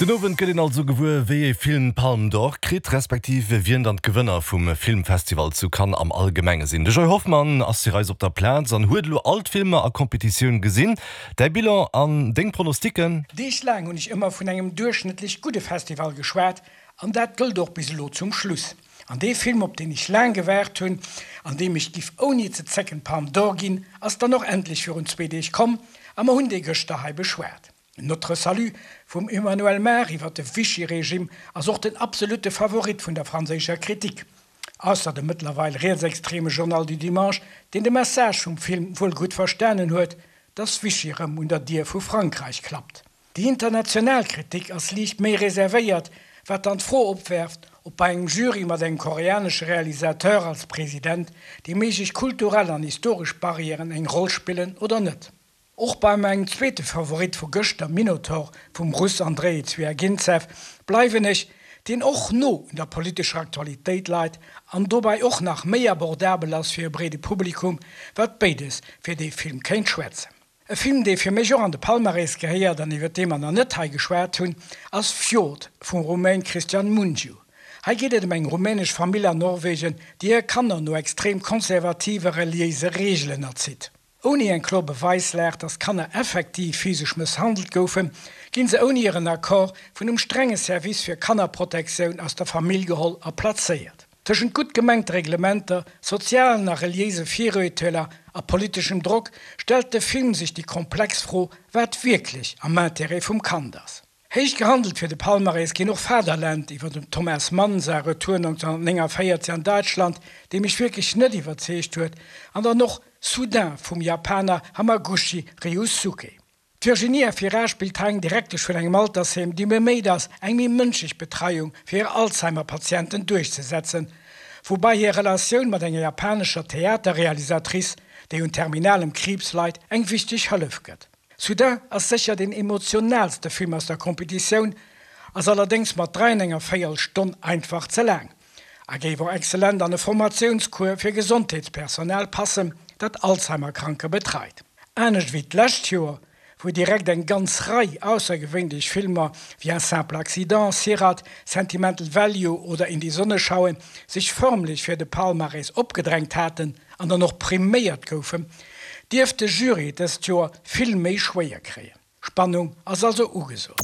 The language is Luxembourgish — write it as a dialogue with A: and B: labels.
A: Den Owend gëtt een also gewuer, wéi ee Film d'Palme d'Or kritt, respektiv wien dann d'Gewënner vum Filmfestival zu Cannes am Allgemenge sinn. De Joy Hoffmann ass fir eis op der Plaz an huet elo all d'Filmer a Competitioun gesinn. Däi Bilan an deng Pronosticken?
B: Deeg laang hunn ech ëmmer vun engem duerchschnëttlech gudde Festival geschwat an dat gëllt och bis elo zum Schluss. An dee Film, op deen ech laang gewaart hunn an deem ech giff ouni ze zécken d'Palme d'Or ginn, ass dann och endlech virun zwee Deeg komm a mer hunn dee gëschter hei beschwat. Notre Salut vum Emmanuel Mar iwwer de Vichy-Regime ass och den absolutte Favorit vun der franséischer Kritik. Ausser dem mëttlerweil rietsextreme Journal du Dimanche, deen de Message vum Film wuel gutt verstanen huet, dass Vichy rëm un der Dier vu Frankräich klappt. Déi international Kritik ass liicht méi reservéiert, wat dann d'Fro opwerft, ob bei engem Jury mat engem koreanesche Realisateur als President déi méiglech kulturell an historesch Barrièren eng Roll spillen oder net. Och bei mengem zweete Favorit vu gëschter, Minotaur vum Russ Andrei Zwiaginzew, bleiwen ech, deen och no un der politescher Aktualitéit leit an dobäi och nach méi abordabel ass fir e breede Publikum, wat béides fir dee Film kéint schwätzen. E Film, dee fir mech och an de Palmarès gehéiert an iwwer dee mer nach net hei geschwat hunn, ass Fjord vum Rumäin Cristian Mungiu. Hei geet et ëm eng rumänesch Famill an Norwegen, déi hir Kanner no extrem konservative reliéise Reegelen erzitt. Ouni eng kloer Beweislag, dass d'Kanner effektiv physesch mësshandelt goufen, ginn se ouni hiren Accord vun um strenge Service fir Kannerprotektioun aus der Famill geholl a plazéiert. Tëschent gutt gemengte Reglementer, sozialen a reliéise Viruerteeler a politeschem Drock stellt de Film sech déi komplex Fro, wat wierklech am Intérêt vum Kand ass. Héich gehandelt fir de Palmarès ginn och Vaterland iwwer dem Thomas Mann säi Retour 1949 an Däitschland, dee mech wierklech net iwwerzeegt huet, an dann och Soudain vum Japaner Hamaguchi Ryusuke. D'Virginie Efira spillt hei eng Direktesch vun engem Altersheem, déi beméit ass, eng méi mënschlech Betreiung fir hir Alzheimer-Patienten duerchzesetzen, woubai hir Relatioun mat enger japanescher Theaterrealisatrice, déi un terminalem Kriibs leit, eng wichteg Hëllef gëtt. Soudain ass sécher deen emotionaalste Film aus der Competitioun, ass allerdéngs mat 3 an enger véierel Stonn einfach ze laang a géif och excellent an e Formatiounscours fir Gesondheetspersonal passen, dat Alzheimer-Kranker betreit. Anescht wéi d'lescht Joer, wou direkt eng ganz Rei aussergewéinlech Filmer wéi Un simple accident, Sirat, Sentimental Value oder In die Sonne schauen sech förmlech fir de Palmarès opgedrängt haten, an dann och priméiert goufen, dierft de Jury et dëst Joer vill méi schwéier kréien. Spannung ass also ugesot.